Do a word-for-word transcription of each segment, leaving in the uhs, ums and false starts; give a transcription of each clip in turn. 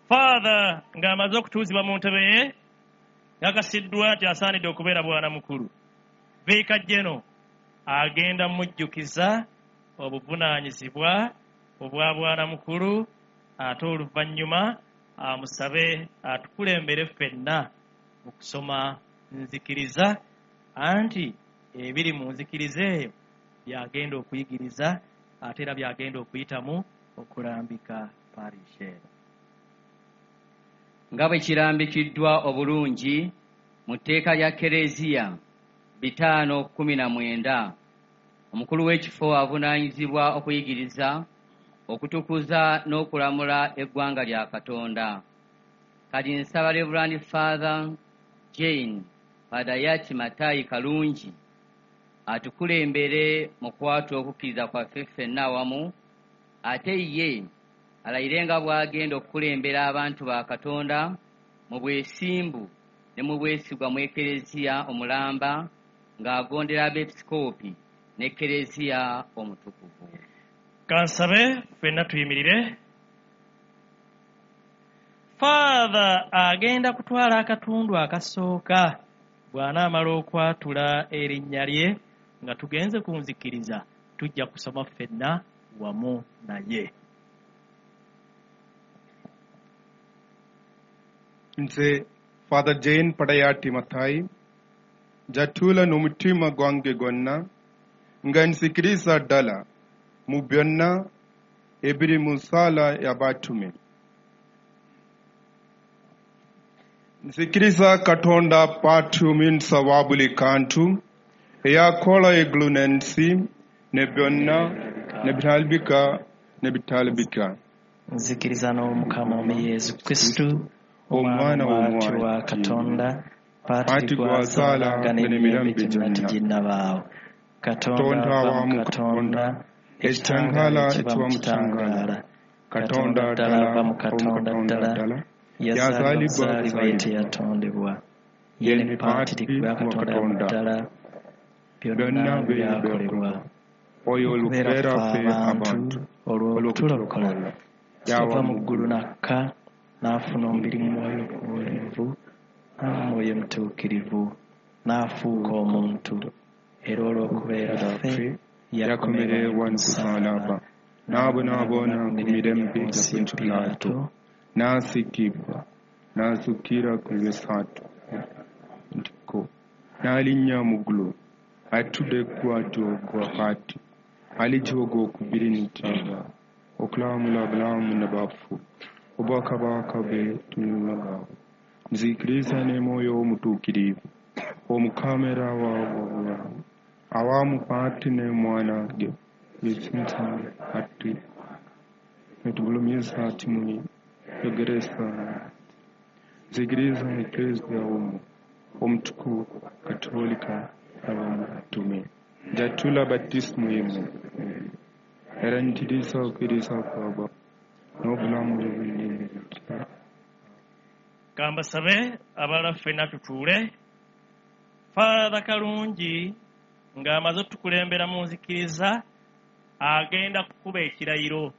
Father ng'amaze okutuuzibwa mu ntebe ye, yakasiddwa nti asaanidde okubeera bwana mukulu. Viika Jeno agenda mujjukiza obuvunaanyizibwa obwa bwana mukulu, ate oluvannyuma amusabe atukulembere ffenna mu kusoma nzikiriza, anti ebiri mu nzikiriza eyo byagenda okuyigiriza ate era byagenda okuyitamu okulambika parish eno. Nga bwe kirambikiddwa obulungi mu tteeka lya Kereziya bitaano kkumi na mwenda, omukulu w'ekifo avunaanyizibwa okuyigiriza, okutukuza n'okulamula eggwanga lya Katonda. Kati nsaba Reverend Father Jane Padayati Matayi Kalungi atukulembere mu kwatula okukkiriza kwaffe ffenna awamu, ate ye alayire nga bw'agenda okukulembera abantu ba Katonda mu bwesimbu ne mu bwesigwa mu Ekereziya omulamba, ng'agondera abeepisikoopi n'Ekereziya omutukuvu. Kansabe ffenna tuyimirire. Father agenda kutwala akatundu akasooka bw'anaamala okwatula erinnya lye nga tugenze ku nzikiriza, tujja kusoma ffenna wamu naye. Nze Father Jane Padayati Mathai njatula n'omutima gwange gwonna nga nzikiriza ddala mu byonna ebiri mu ssaala y'abatume. Nzikiriza Katonda Paati omuyinza wa buli kantu, eyakola eggulu n'ensi ne byonna n'ebirabika n'ebitalabika. Nzikiriza n'Omukama omu Yesu Kristo, Omwana omwana w'Omwana wa Katonda, Paati Paatiri gw'azaala gw'azaala nga nga n'emirembe n'emirembe gyonna gyonna. Teginnabaawo. Katonda Katonda ava wa mu mu Katonda, Katonda, ekitangaala ekitangaala ekiva ekiva mu mu kitangaala. kitangaala. Katonda Katonda ddala ddala ava mu ava mu Katonda Katonda ddala, ddala, yazaalibwa yazaalibwa buzaalibwa ye buzaalibwa. teyatondebwa. Ye Ye ne ne Paatiri Paatiri gwa wa Katonda Katonda, ddala, byonna byonna bye byakolebwa. byakolebwa. Oyo Okubeera olukubeera ffe ffe abantu abantu olw'okutulokola, olw'okutulokola, yava yava mu mu ggulu ggulu n'akka, n'afuna omubiri mu mwoyo omuwulivu, n'Omwoyo Mutuukirivu, n'afuuka omuntu, era olw'okubeera ffe ffe yakomererwa yakomererwa ku ku musaalaba, musaalaba, n'abonaabona n'abonaabona ku ku mirembe mirembe gya gya Ponsiyo Pontiyo Piraato, Piraato, n'asiigibwa, n'azuukira ku lw'essatu ntiko, n'alinnya mu ggulu, atudde ku ddyo gwa Paati, alijja ogw'okubiri n'entiibwa, okulamula abalamu n'abafu, obwakabaka bwe tebuliggwaawo. Nzikiriza ne Mwoyo Omutuukirivu, Omukama era awa obulamu, awamu Paati ne Mwana ge yesinza ati netugulumiza ati muli yogeresa. Nzikiriza Eklezia omu omutukuvu Katolika abatume, njatula batismu emu, era ntiriza okkiriza kwaba n'obulamu obulungi. Kambasabe abalala ffenna tutuule. Father Kalungi ng'amaze otukulembera mu nzikiriza agenda kukuba ekirayiro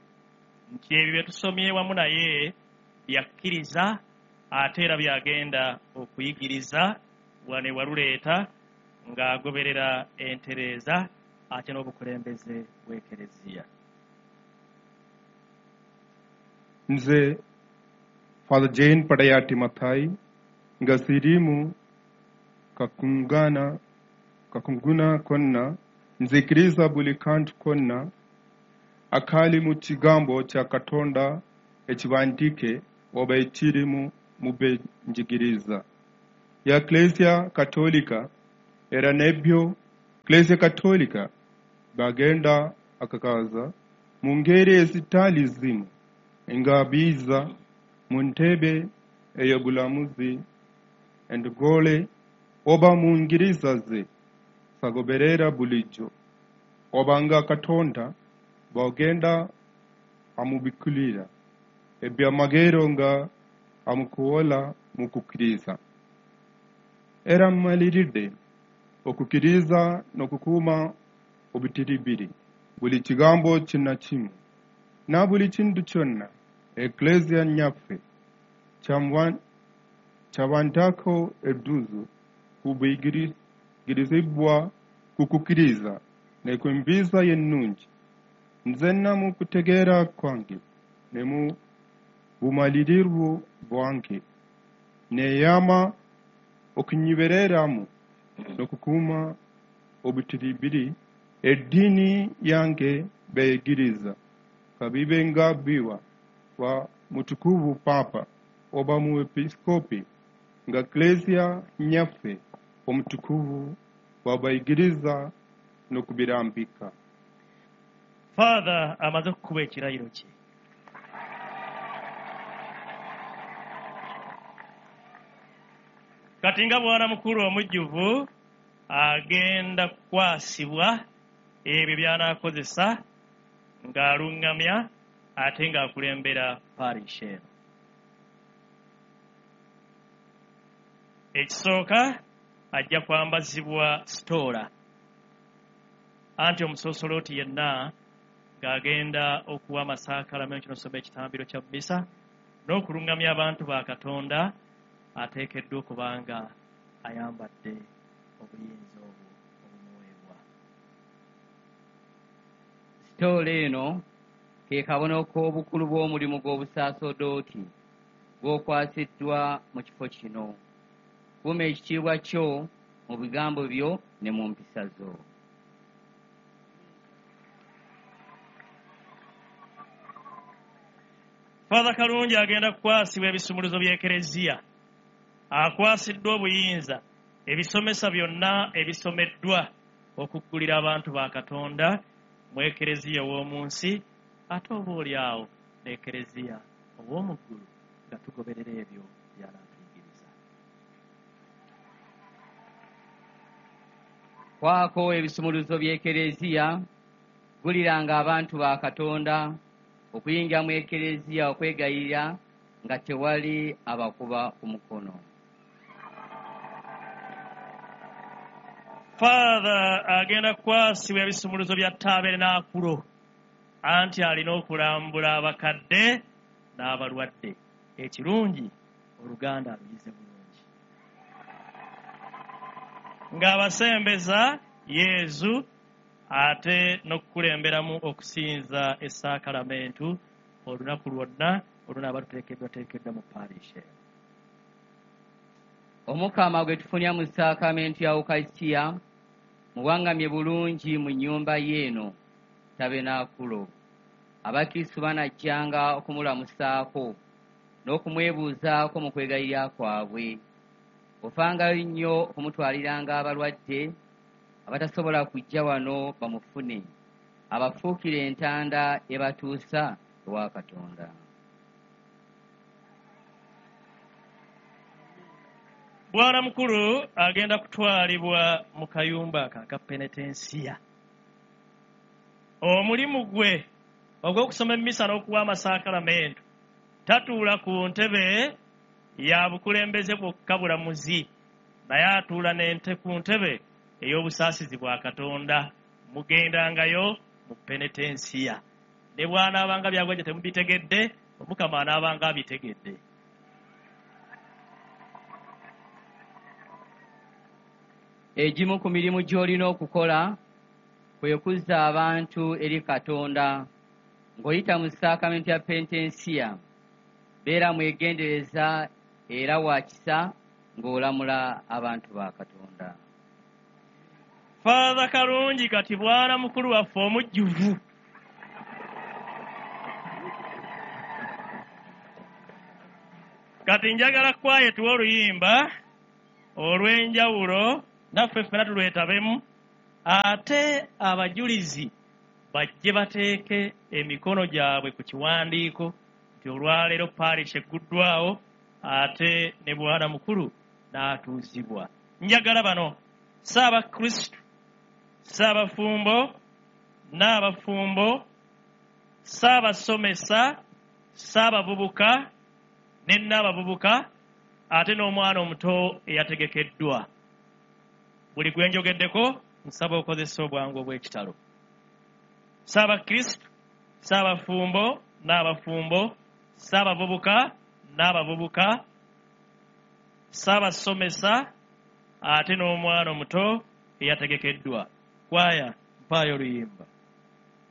nti ebyo bye tusomye wamu naye byakkiriza ate era byagenda okuyigiriza wano ewaluleeta ng'agoberera entereeza ate n'obukulembeze bw'Ekereziya. Nze Father Jane Padayati Mathai nga siriimu kakungana kakunguna konna, nzikiriza buli kantu konna akali mu kigambo kya Katonda ekiwandiike oba ekiri mu byenjigiriza ya Eklezia Katolika, era n'ebyo Eklezia Katolika bagenda akakaza mu ngeri ezitali zimu nga biza mu ntebe ey'obulamuzi endogole oba mu ngiriza ze sagoberera bulijjo, oba nga Katonda bw'agenda amubikkulira ebyamagero nga amukoowoola mu kukkiriza. Era mmaliridde okukkiriza n'okukuuma obutiribiri buli kigambo kinnakimu na buli kintu kyonna Eklezia nnyaffe Kyabantako edduzu ku buyigirizibwa ku kukkiriza ne ku mpisa ennungi. Nzenna mu kutegeera kwange ne mu bumalirivu bwange neeyama okunywereramu n'okukuuma obutiribiri eddiini yange beyigiriza, ka bibe nga biwa wa mutukuvu Papa oba muepiskopi nga Klezia nnyaffe omutukuvu bw'abayigiriza n'okubirambika. Father amaze okukuba ekirayiro kye. Kati nga bwana mukulu omujjuvu agenda kukwasibwa ebyo by'anaakozesa ng'alungamya ate ng'akulembera parish eno. Ekisooka ajja kwambazibwa sitoola, anti omusoosolooti yenna ng'agenda okuwa amasaakalamentu n'okusoma ekitambiro kya mmisa n'okulungamya abantu ba Katonda ateekeddwa okuba nga ayambadde obuyinza obwo obumuweebwa. Sitoola eno ke kabonero k'obukulu bw'omulimu gw'obusaasodooti gw'okwasiddwa mu kifo kino. Kuuma ekitiibwa kyo mu bigambo byo ne mu mpisa zo. Father Kalungi agenda kukwasibwa ebisumuluzo by'Ekereziya. Akwasiddwa obuyinza ebisomesa byonna ebisomeddwa okuggulira abantu ba Katonda mu Ekereziya ow'omu nsi ate oba oli awo n'Ekereziya ow'omu ggulu nga tugoberera ebyo by'anaatuyigiriza. Kwako ebisumuluzo by'Ekereziya, guliranga abantu ba Katonda okuyingira mu Ekereziya okwegayirira nga tewali abakuba ku mukono. Father agenda kukwasibwa ebisumuluzo bya taabernakulo, anti alina okulambula abakadde n'abalwadde. Ekirungi Oluganda aluyize bulungi. Ng'abasembeza Yezu ate n'okukulemberamu okusinza essaakalamentu olunaku lwonna olunaaba luteekeddwateekeddwa mu parish eno. Omukama gwe tufunira mu saakamenti ya Ukaristiya muwangamye bulungi mu nnyumba ye eno tabernakulo. Abakristu banajjanga okumulamusaako n'okumwebuuzaako mu kwegayirira kwabwe. Ofangayo nnyo okumutwaliranga abalwadde abatasobola kujja wano bamufune, abafuukire entanda ebatuusa ewa Katonda. Bwana mukulu agenda kutwalibwa mu kayumba aka aka penetensiya. Omulimu gwe ogw'okusoma emmisa n'okuwa amasaakalamentu tatuula ku ntebe ya bukulembeze bwokka bulamuzi, naye atuula n'ente ku ntebe ey'obusaasizi bwa Katonda. Mugendangayo mu penetensiya. Ne bw'anaabanga byagwaje temubitegedde, Omukama anaabanga abitegedde. Egimu ku mirimu gy'olina okukola kwe kuzza abantu eri Katonda ng'oyita mu saakamenti ya penitensiya. Beera mwegendereza era wa kisa ng'olamula abantu ba Katonda. Father Kalungi kati bwana mukulu waffe omujjuvu. Kati njagala kwaye tuwe oluyimba olw'enjawulo naffe ffenna tulwetabemu, ate abajulizi bajje bateeke emikono gyabwe ku kiwandiiko nti olwaleero parish egguddwawo ate ne bwana mukulu n'atuuzibwa. Njagala bano Ssaabakristu, Ssaabafumbo, n'abafumbo, Ssaabasomesa, Ssaabavubuka ne nnaabavubuka ate n'omwana omuto eyategekeddwa. Buli gwe njogeddeko nsaba okozesa obwangu obw'ekitalo. Ssaabakristu, Ssaabafumbo n'abafumbo, Ssaabavubuka n'abavubuka, ssaabasomesa ate n'omwana omuto eyategekeddwa. Kwaya, mpaayo oluyimba.